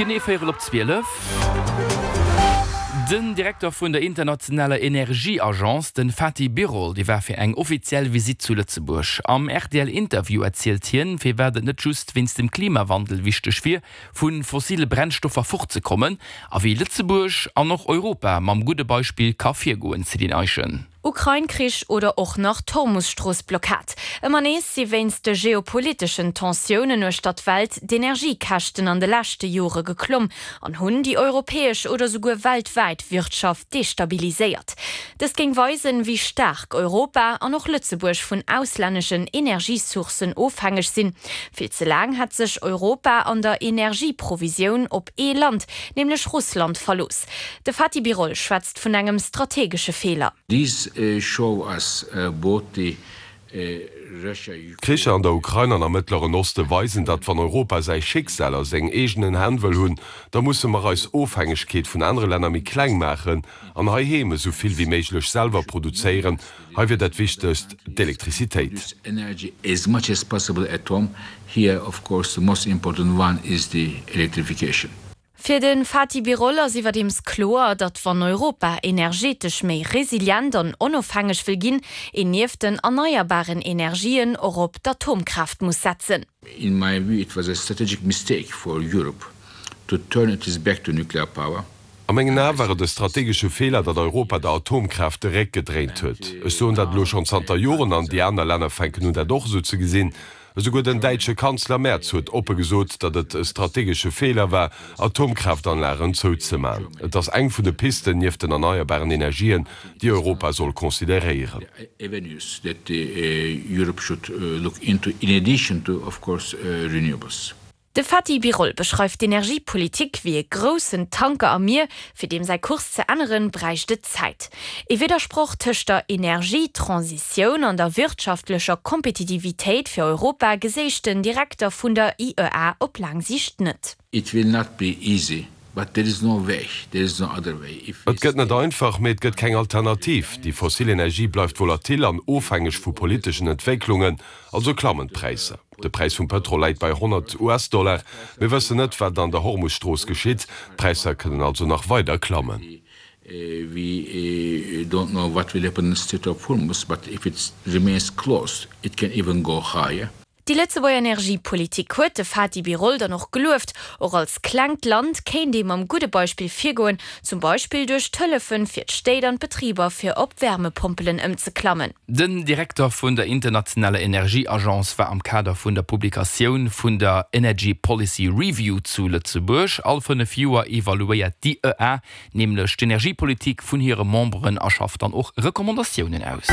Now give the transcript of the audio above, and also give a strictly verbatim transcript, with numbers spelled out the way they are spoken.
Genee véierel op zwielef. Den Direkter vun der internationaler Energieagence, den Fatih Birol, dee war fir eng offiziell Visitt zu Lëtzebuerg. Am R T L-Interview erzielt hien, firwat et net just wéinst dem Klimawandel wichteg wier, vu fossile Brennstoffer fortzekommen, a wéi Lëtzebuerg an och Europa mam gudde Beispill ka virgoen, Céline Eischen. Ukrain-Krich oder och nach d'Hormus-Strooss-Blockad. Ëmmer nees si wéinst de geopoliteschen Tensiounen uechter d'Welt d'Energiekäschten an de leschte Jore geklomm an hunn déi europäesch oder souguer weltwäit Wirtschaft destabiliséiert. Dëst géing weisen, wéi staark Europa an och Lëtzebuerg vun auslänneschen Energiesourcen ofhängeg sinn. Vill ze laang hat sech Europa an der Energieprovisioun op ee Land, nämlech Russland, verlooss. De Fatih Birol schwätzt vun engem strategesche Feeler. These uh, show us uh, both the uh, Russia D'Kricher an der Ukrain an am Mëttleren Oste weisen, datt wann Europa säi Schicksal a sengen eegenen Hänn wëll hunn, da musse mer eis Ofhängegkeet vun anere Länner méi kleng maachen an heiheem esou vill wéi méiglech selwer produzéieren. Hei wier dat Wichtegst d'Elektrizitéit. Energy as much as possible at home. Here, of course, the most important one is the electrification. Fir den Fatih Birol ass iwwerdeems kloer, datt wann Europa energetesch méi resilient an onofhängeg wëll ginn, een nieft den erneierbaren Energien och op d'Atomkraaft muss setzen. In my view, it was a strategic mistake for Europe to turn its back to nuclear power. A mengen Ae war et e strategesche Feeler, datt Europa der Atomkraaft de Réck gedréint huet. Ech soen dat lo schonn zanter Joren an déi aner Länner fänken un dat och sou ze gesinn. Esouguer den däitsche Kanzler Merz huet oppe gesot, datt et e strategesche Feeler war, Atomkraftanlagen zouzemaachen. Et ass eng vun de Pisten nieft den erneierbaren Energien, déi Europa soll consideréieren. Avenues that uh, Europe should uh, look into in addition to, of course, uh, renewables. De Fatih Birol beschreift d'Energiepolitik wéi e groussen Tanker am Mier, fir deem säi Kurs ze änneren, bräicht et Zäit. E Widdersproch tëscht der Energietransitioun an der wirtschaftlecher Kompetitivitéit fir Europa gesäit den Direkter vun der I E A op laang Siicht net. It will not be easy, but there is no way, there is no other way. If Et gëtt net einfach, mee et gëtt keng Alternativ. Déi fossil Energie bleift volatil an ofhängeg vu politeschen Entwécklungen, also klammen d'Präisser. De Präis vum Pëtrol läit bei honnert U S-Dollar. Mir wëssen net, wat an der Hormusstrooss geschitt. D'Präisser kënnen also nach weider klammen. Uh, we uh, don't know what will happen in the Strait of Hormuz, but if it remains closed, it can even go higher. Déi Lëtzebuerger Energiepolitik huet de Fatih Birol dann och gelueft. Och als klengt Land kéint ee mam gudde Beispill virgoen, zum Beispill duerch d'Hëllefe fir d'Stéit an d'Betriber fir op Wärmepompelen ëmzeklammen. Den Direkter vun der internationaler Energieagence war am Kader vun der Publikatioun vun der Energy Policy Review zu Lëtzebuerg. All fënnef Joer evaluéiert d'I E A nämlech d'Energiepolitik vun hire Memberen a schafft dann och Recommandatiounen aus.